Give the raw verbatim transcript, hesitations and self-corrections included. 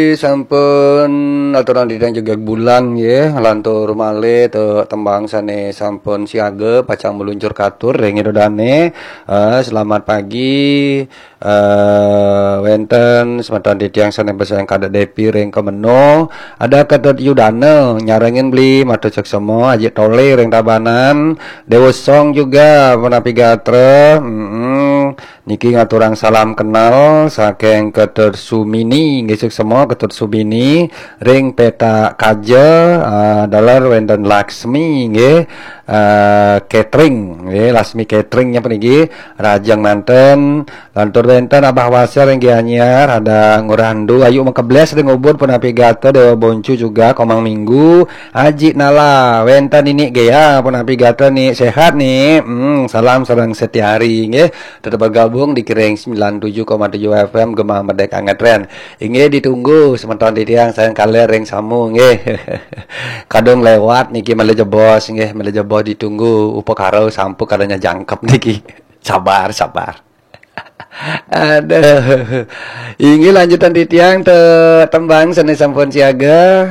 Sampun aturang titiang jegég bulan nggih, lantur malih tembang sané sampun siaga pacang meluncur katur ring ida dané. Eh, selamat pagi. Eh, wénten semeton titiang sané basayang Kadek Depi ring Kemeno, ada Ketut Yudana nyarengin beli, matur suksema, Aji Tole ring Tabanan, Dewa Song juga, punapi gatra. Mm-mm. Niki ngaturang salam kenal saking Ketut Sumini, nggih suksema Ketut Sumini ring Petak Kaja, eh, daler wénten Laksmi nggih, eh, catering nggih, Laksmi Catering nggih puniki rajeng manten, lantur wénten Abah Wasel ring Gianyar, ada Ngurah Endu, Ayu Mekebles ring Ubud, punapi gatra, Dewa Boncu juga, Komang Minggu, Aji Nala, wénten Nini Gea, punapi gatra Ni, sehat Ni. Hmm, salam sareng Setiari nggih. Tetep bergabung di Kiring sembilan tujuh koma tujuh F M Gema Merdeka Ngetren. Inggih ditunggu semeton titiang sareng kalih ring samu nggih. Kadung lewat niki malih jebos nggih, malih jebos ditunggu upakara sampun kadanya jangkep niki. Sabar, sabar. Aduh. Inggih lanjutan titiang te tembang sané sampun siaga.